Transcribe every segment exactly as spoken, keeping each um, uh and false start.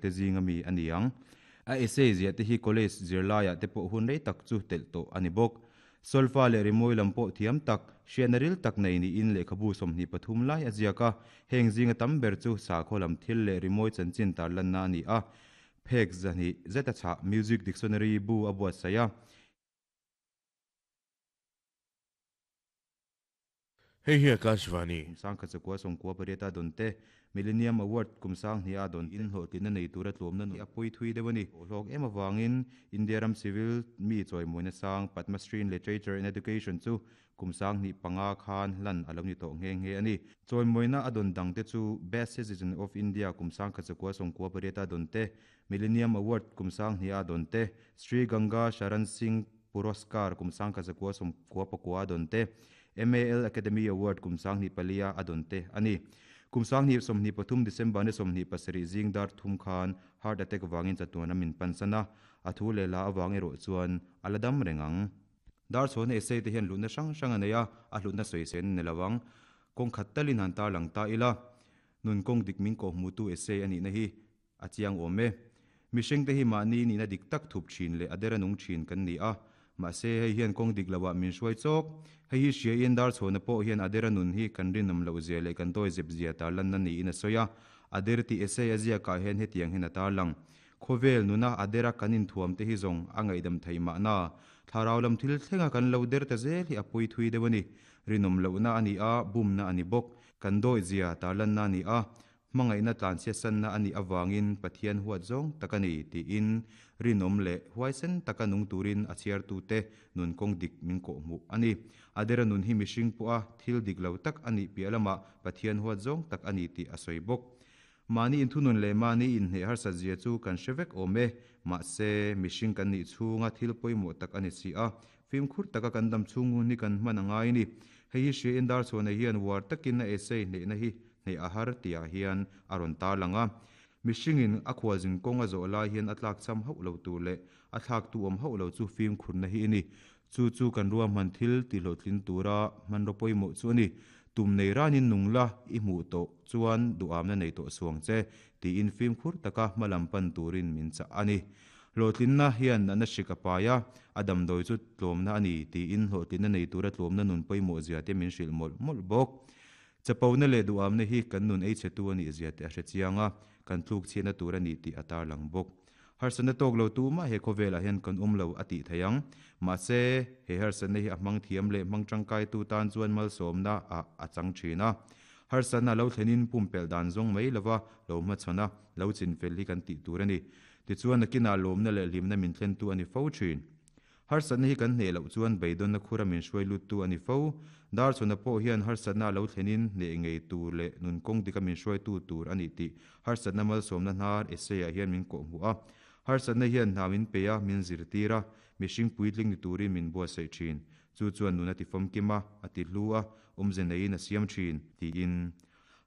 te zinga mi ani ang a essay zia te hi college zirlaiah te pawh hun rei tak chu telh tawh ani bawk solfa leh rimawi lam pawh thiam tak hriatna ril tak nei niin lehkhabu sawmhnih pathum lai a ziak a heng zinga tam ber chu sakhaw lam thil leh rimawi chanchin tarlanna ani a phek zahnih zeta chhah music dictionary bu a buatsaih a Hei hi Akashvani. Kumsang khat zakua sawmkua pariat a dawn te Millennium Award kumsang hnih a dawn in hlawhtlinna nei tura tlawmna nun a pawi thui deuh a ni. Hlawk em awangin India ram civil mi chawimawina sang Padma Shri in Literature and Education chu kumsang hnih panga khan hlan a lo ni tawh nghe nghe a ni. Chawimawina a dawn dang te chu Best Citizen of India kumsang khat zakua sawmkua pariat a dawn te Millennium Award kumsang hnih a dawn te Sri Ganga Sharan Singh Puraskar kumsang khat zakua sawmkua pakua a dawn te M A L Academy Award kumsang hnih palia a dawn te ani. Kumsang hnih sawmhnih pathum December ni sawmhnih pasarih zing dar thum khan heart attack wangin chatuan amin pansana a thu leh la awang erawh chuan a la dam reng ang. Dar chhuahna essay te hian hlutna hrang hrang a nei a, a hlutna sawi sen ni lovang. Kawng khat talin han tar lang ta ila. Nun kawng dik min kawh hmutu essay anih na hi a chiang awm e. Mihring te hi mahni nihna dik tak thup thin leh a dera nung thin kan ni a. Mahse hei hian kawng dik loah min hruai chawk. Hei hi hria in dar chhuahna pawh hian a dera nun hi kan rinawm loh zia leh kan dawi zep zia tarlanna niin a sawi a. A der tih essay a ziakah hian hetiang hian a tar lang. Khawvel nuna a dera kan inthuam te hi zawng a ngaihdam thei mahna. Thlarau lam thil thlenga kan lo der ta zel hi a pawi thui deuh a ni. Rinawm lohna a ni a, bumna a ni bawk. Kan dawi zia tarlanna a ni a. Hmangaihna tlanchhiatsanna a nih awangin Pathian huat zawng tak a ni tiin rinawm leh huaisen taka nung turin a chhiartu te nun kawng dik min kawh hmuh a ni. A dera nun hi mihring pawh a thil dik lo tak a nih piah lamah Pathian huat zawng tak a ni tih a sawi bawk. Mahni inthunun leh mahni inhne harsat zia chu kan hre vek awm e. Mahse mihring kan nih chhunga thil pawimawh tak a ni si a. Fimkhur taka kan dam chhung hun hi kan hman a ngai ni. Hei hi hria in dar chhuahna hian uar takin a essay hnehna hi hneh a har tihah hian a rawn tar lang a. Mihringin a khualzin kawng a zawh lai hian a tlak cham hauh lo tur leh a thlak tu awm hauh lo chu fimkhurna hi a ni. Chu chu kan ruahman thil tihhlawhtlin tura hmanraw pawimawh chu a ni. Tum nei ranin nung la i hmuh tawh chuan duhamna nei tawh suang che tiin fimkhur taka hmalam pan turin min chah a ni. Hlawhtlinna hian natna hrik a pai a, a damdawi chu tlawmna a ni tiin hlawhtlinna nei tura tlawmna nun pawimawh zia te min hrilh mawlh mawlh bawk. Chapona leh duhamna hi kan nun ei chhe tu a nih zia te a hre chiang a, kan tluk chhiatna tur a ni tih a tar lang bawk. Harsatna tawk lo tu mah he khawvelah hian kan awm lo a tih thei ang. Mahse he harsatna hi a hmang thiam leh hmang tangkai tu tan chuan malsawmna ah a chang thin a. Harsatna lo thlenin pumpelh dan zawng mai lova lo hmachhawn a, lo chinfel hi kan tih tur a ni. Tichuan nakinah lawmna leh hlimna min thlen tu a ni fo thin. Harsatna hi kan hneh loh chuan beidawnna khura min hruai lut tu a ni fo. Dar chhuahna pawh hian harsatna lo thlenin hneh ngei tur leh nun kawng dika min hruai tu tur a ni tih harsatna malsawmna hnar essay ah hian min kawh hmuh a. Harsatna hian hna min pe a, min zirtir a, mihring puitling ni turin min buatsaih thin. Chu chuan nun a ti famkim a, a ti hlu a, awmze neiin a siam thin tiin.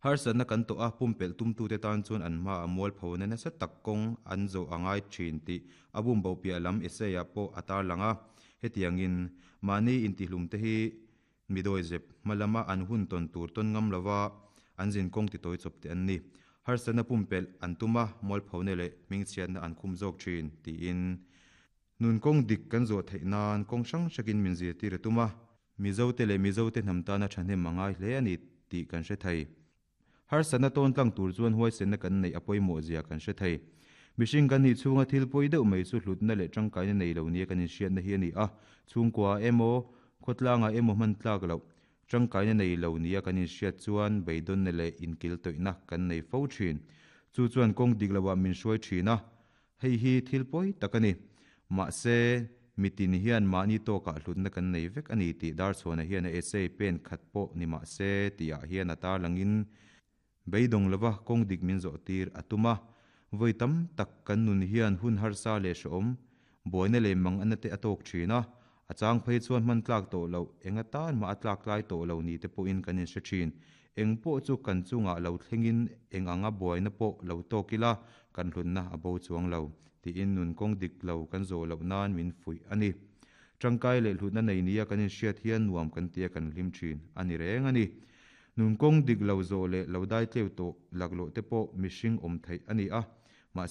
Harsatna kan tawh a, pumpelh tumtu te tan chuan an hma a mual phona nasa tak kawng an zawh a ngai thin tih a bum bo piah lam essay ah pawh a tar lang a. Hetiangin mahni intihlum te hi midawi zep hmalama an hun tawn tur tawn ngam lova an zin kawng ti tawi chawp te an ni. Harsatna pumpelh an tum a, mual phona leh hmingchhiatna an khum zawk thin tiin. Nun kawng dik kan zawh theih nan kawng hrang hrakin min zirtir a tum a. Mizo te leh mizo te hnam tana thahnem a ngai hle a ni tih kan hre thei. Harsatna tawn tlang tur chuan huaisenna kan nei a pawimawh zia kan hre thei. Mihring kan nih chhunga thil pawi deuh mai chu hlutna leh tangkaina nei lo nia kan inhriatna hi a ni a. Chhungkua emaw, khawtlangah emaw hman tlak loh tangkaina nei lo nia kan inhriat chuan beidawnna leh inkil tawihna kan nei fo thin. Chu chuan kawng dik loah min hruai thin a. Hei hi thil pawi tak a ni. Mahse mitin hian mahni tawkah hlutna kan nei vek a ni tih dar chhuahna hian a essay pen khat pawh ni mahse tihah hian a tar langin beidawng lova kawng dik min zawh tir a tum a. Vawi tam tak kan nun hian hun harsa leh hreawm buaina leh mang ana te a tawk thin a. A chang phei chuan hman tlak tawh lo enga tan mah a tlak tlai tawh lo ni te pawhin kan inhre thin. Eng pawh chu kan chungah lo thlengin eng anga buaina pawh lo tawk ila kan hlutna a bo chuang lo tiin nun kawng dik lo kan zawh loh nan min fuih a ni. Tangkai leh hlutna nei nia kan inhriat hian nuam kan tia kan hlim thin a ni reng a ni. Nun kawng dik lo zawh leh lo dai tleu tawh laklawh te pawh mihring awm theih a ni a. Mahse